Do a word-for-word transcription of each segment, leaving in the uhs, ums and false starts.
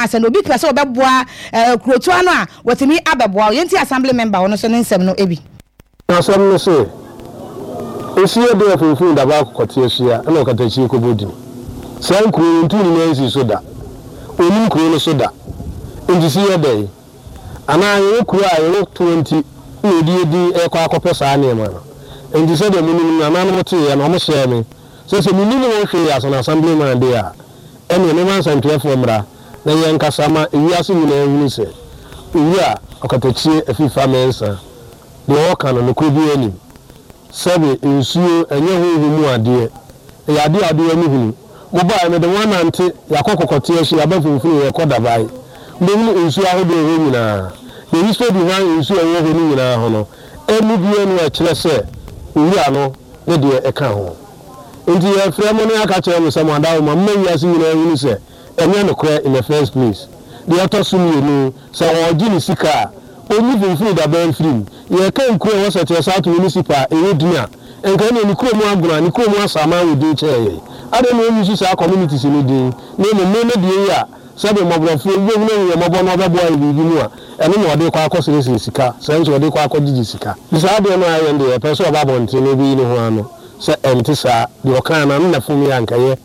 Asɛ na obi pɛ sɛ ɔbɛboa ɛɛ kurotoa no a, wɔtumi abɛboa. Yɛnti assembly member ɔno nso ne nsɛm no ebi. Asɛm no sɛ osie de afimfini daba akɔkɔte ahyia ɛna ɔkatakyie kɔbɔ din saa nkuro no ntu ne nan nsi so da, onim kuro no so da. Nti si yɛ dɛn anaa yɛwɔ kuro a yɛwɔ twenty na ɔdi yɛdi ɛkɔ akɔpɛ saa nneɛma no. Nti sɛdeɛ monim no, nananom teeɛ no, ɔmo hyɛɛ me sɛ sɛ menim wɔn hwee as an assemblyman de a, ɛneɛ mema nsɛntwerɛfoɔ mmra na yɛnkasa ma ewiase nyinaa hunu sɛ Owura Ɔkatakyie Afifa Mɛnsa deɛ ɔka no, nokorɛ bi anim. Sɛbe nsuo ɛnyɛ honhom mu adeɛ, ɛyɛ adeɛ a adeɛ ani hunu. Mobaeɛ, mede mo anante, yɛakɔ Kɔkɔte ahyi, yɛaba Mfimfini, yɛkɔ Dabae, mbɛhunu nsuo ahodoɔ hɔ nyinaa. The history behind nsuo a ɛwɔ hɔ no nyinaa ho no, ɛmu biara nu a ɛkyerɛ sɛ owura no ne deɛ ɛka ho. Nti yɛfrɛ mo ne aka kyerɛ mo sɛ mo adawo ma mma wiase nyinaa hunu sɛ ɛnyɛ nokorɛ in the first place. Deɛ ɛtɔ so mmienu, sɛ ɔregye ne sika a, ɔnyi Mfimfini Daba mfirim. Yɛka nkuro a ɛwɔ Sɛkyerɛ South Municipal a ɛwɔ din a, nka ɛne ne kurom Agona, ne kurom Asaman wɔ din kyɛɛ yɛn. Adɛn na ɔnyi so saa communities no din, na mmom me ne deɛ yi a sɛbe mmɔborɔfoɔ bi bɛhunu ahu yɛ mmɔbɔ na ɔbɛboa yɛ biribi mu a, ɛno na ɔde kɔ akɔseresere sika, sɛ nso ɔde kɔ akɔgyegye sika. Saa adeɛ no a ɛyɛ no deɛ, yɛpɛ sɛ ɔba abɔnten na ɔbɛyi ne ho ano sɛ ɛnte saa. Deɛ ɔkaa no ano na fom yɛ ankɛyɛ.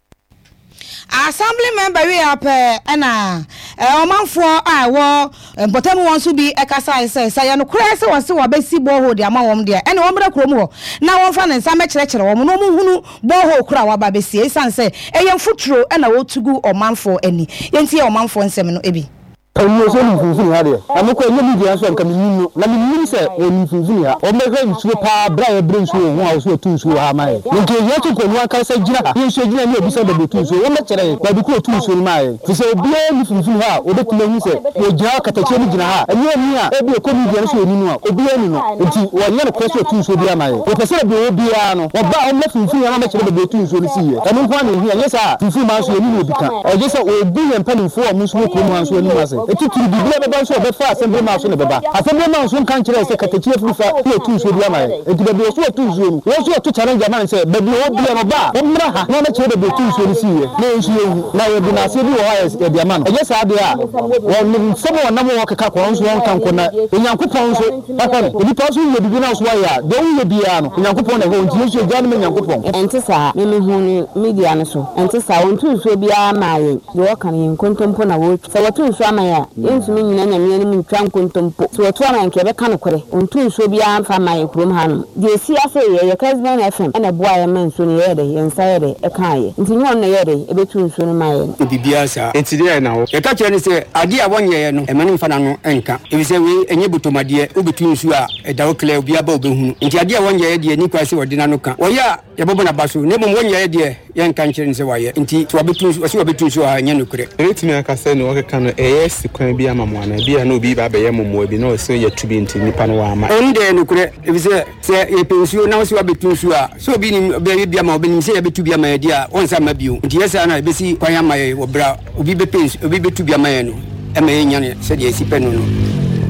Assembly member wi apɛ ɛna ɔmanfoɔ a ɛwɔ mpɔtam wɔn nso bi ɛkasa sɛ sɛ yɛ nokorɛ sɛ wɔse wɔbɛsi borehole de ama wɔn deɛ, ɛne wɔn mmra kurom hɔ na wɔmfa ne nsa mɛkyerɛkyerɛ wɔn na wɔn hunu borehole koro a waba bɛsie, ɛsiane sɛ ɛyɛ mfuturo ɛna wɔtu gu ɔmanfoɔ ani. Yɛntie ɔmanfoɔ nsɛm no ebi. Ɛnyɛ sɛ ɔnim Mfimfini ha deɛ, na mekɔ ɛnyɛ media nso a, nka menim no, na menim sɛ wɔnim Mfimfini ha. Wɔmmɛhwɛ nsuo paa berɛ a yɛbrɛ nsuo wɔ ho a, wɔ so wɔtu nsuo wɔ ha ma yɛ. Na nka ɛhia sɛ nkɔnu ankasa gyina ha ne nsuo gyina ne abisa baabi ɔtu nsuo, wɔmmɛkyerɛ yɛn baabi koro ɔtu nsuo no maa yɛn, firi sɛ obiara nni Mfimfini ha a wɔbɛtumi ahu sɛ wɔgyina hɔ, katakyie no gyina ha. Ɛnyɛ ani a ebi ɛkɔ media no so ɔni no a, obiara ni no. Nti wɔnyɛ nokorɛ sɛ ɔtu nsuo bi ama yɛn. Wɔpɛ sɛ baabi ɔwɔ biara no, wɔba a, ɔmmɛ Mfimfini ha ma mɛkyerɛ baabi ɔtu nsuo no siiɛ. Ɛno nko ara na ɛhia. Ɛnyɛ saa a, Mfimfini maa nso yɛni no obi ka. Ɛgye sɛ ɔgu yɛn mpanimfoɔ a ɔmo nso wɔ kurom ha nso anim ase. Ɛtitiri biribiara bɛba nso a, ɔbɛfa assembly man so na ɛbɛba. Assembly man nso nka nkyerɛ sɛ katakyie afiri fa na ɔtu nsuo bi ama yɛn. Nti baabi ɔso ɔtu nsuo no, wɔn nso ɔto challenge ama no sɛ baabi ɔwɔ biara no, ɔba a, ɔmmra ha na ɔmɛkyerɛ baabi ɔtu nsuo no siiɛ na yɛn nso yɛnhu na yɛde n'aseɛ bi wɔ hɔ a yɛde ama no. Ɛnyɛ saa deɛ a, wɔn nsɛm a ɔnam wɔ keka kɔ nso wɔnka nkɔ, na Onyankopɔn nso ɛhwɛ no. Onipa nso yɛ biribi na nso wayɛ a, deɛ woyɛ biara no, Onyankopɔn na ɛhwɛ wo. Nti yɛn nso yɛgya no ma Onyankopɔn. Ɛnte saa. Me mehu no media no so. Ɛnte saa. Wɔnto nsuo biara maa yɛn. Deɛ wɔka no yɛ nkontompo na wɔretwa. Sɛ wɔto nsuo ama yɛn a, yɛntumi nnyina Nyame anim ntwa nkontompo. Sɛ wɔto ama yɛn nka yɛbɛka nokorɛ. Wɔnto nsuo biara mfa mma yɛn kurom hanom. Deɛ ɛsi ase yɛ yɛ Kesben F M ɛna ɛboa yɛn ma nsuo no yɛyɛ dɛ, yɛn nsa yɛ dɛ ɛkaa yɛ. Nti nyɛ ɔno na yɛyɛ dɛ ɛbɛtu nsuo no maa yɛn. Biribiara saa. Nti deɛ na wo yɛka kyerɛ no sɛ adeɛ a wɔnyɛeɛ no, ɛma no mfa n'ano nka, ɛfiri sɛ wei ɛnyɛ botomadeɛ. Wobɛtu nsuo a ɛda wo klɛ, obiara ba wobɛhunu. Nti adeɛ a wɔnyɛeɛ deɛ, ni kwan sɛ wɔde n'ano ka. Wɔyɛ a, yɛbɛbɔ n'aba so, na mmom wɔnyɛeɛ deɛ, yɛnka nkyerɛ no sɛ wayɛ. Nti sɛ wabɛtu nsuo, ɔsɛ wabɛtu nsuo a, ɛnyɛ nokorɛ. Ɛbɛtumi aka sɛ ne wɔkeka no ɛyɛ si kwan bi ama mo anaa bi a na obi ba bɛyɛ mo mmoa bi na ɔsɛ yɛtu bi nti nipa no wama. Ɛno deɛ yɛ nokorɛ, ɛfiri sɛ sɛ yɛpɛ nsuo na wo sɛ wabɛtu nsuo a, sɛ obi nim bɛyɛ bi ama wobɛnim sɛ yɛbɛtu bi ama yɛ deɛ a, wɔnsa mma bio. Nti yɛ saa na yɛbɛsi kwan ama yɛ wɔ berɛ a obi bɛpɛ nsu, obi bɛtu bi ama yɛ no, ɛma yɛnya no sɛdeɛ ɛsi pɛ no no.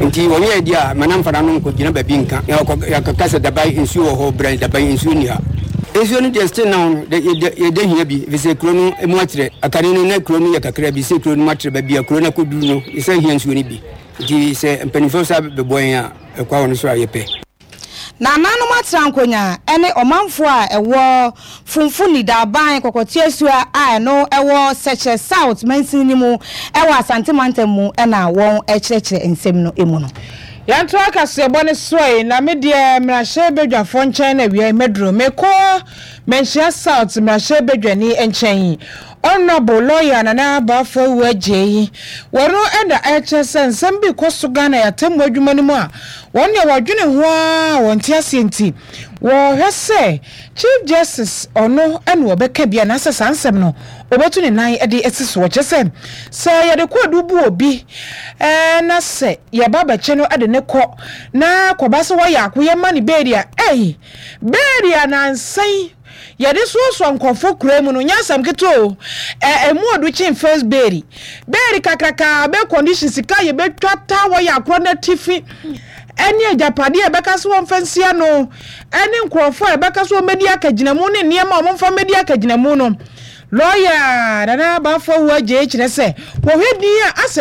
Nti wɔnyɛ deɛ a, ma namfa n'ano nkɔgyina baabi nka. Yɛkɔka sɛ Daban nsuo wɔ hɔ, brɛ Daban nsuo nni ha. Nsuo no deɛ, still now no yɛda hia bi, ɛfiri sɛ kuro no mu atrɛ. Akane no na kuro no yɛ kakra bi, sɛ kuro no mu atrɛ baabi a kuro no akɔduru no, yɛsɛ hia nsuo no bi. Nti sɛ mpanimfoɔ sa bɛboa yɛn a, ɛkwa wɔ no so a yɛpɛ. Nananom atena nkonya ne ɔmanfoɔ a ɛwɔ Funfuni Daban Kɔkɔteasua a ɛno ɛwɔ Sɛkyerɛ South mansin no mu ɛwɔ Asante mantam mu ɛna wɔn ɛkyerɛkyerɛ nsɛm no mu no. Yɛnto akaseɛbɔ ne soe na me deɛ mmarahyɛ badwafoɔ nkyɛn na awia mɛduro mekɔ Manhyia South mmarahyɛ badwani nkyɛn, Honourable Lawyer Nana Abaafo Awu Agyei. Wɔno ɛna ɛkyerɛ sɛ nsɛm bi kɔ so Ghana yɛatemmu adwuma no mu a, wɔn deɛ wɔdwene ho a wɔnte aseɛ, nti wɔhwɛ sɛ Chief Justice ɔno ɛna wɔbɛka bi anaasɛ saa nsɛm no ɔbɛtu ne nan de asi so. Wɔkyerɛ sɛ sɛ yɛde kɔɔdu bu obi ɛɛ na sɛ yɛba bɛkye no de ne kɔ na kɔba sɛ wɔyɛ ako yɛma ne bail a, ɛyi bail a nansan yɛde soasoa nkɔfo kura mu no nyɛ asɛm ketewa o. ɛ ɛmu ɔdo kyen first bail. Bail kakraka bɛ condition sika yɛbɛtwa ta wɔyɛ akorɔ n'atifi ɛne agyapadeɛ a ɛbɛka so wɔmfa nsia no, ɛne nkurɔfoɔ a ɛbɛka so wɔmmɛdi akagyinamu ne nneɛma a wɔmfa mmɛdi akagyinamu no. Lɔya Nana Bafo Awuah Agyei kyerɛ sɛ wɔhwɛ din a asɛ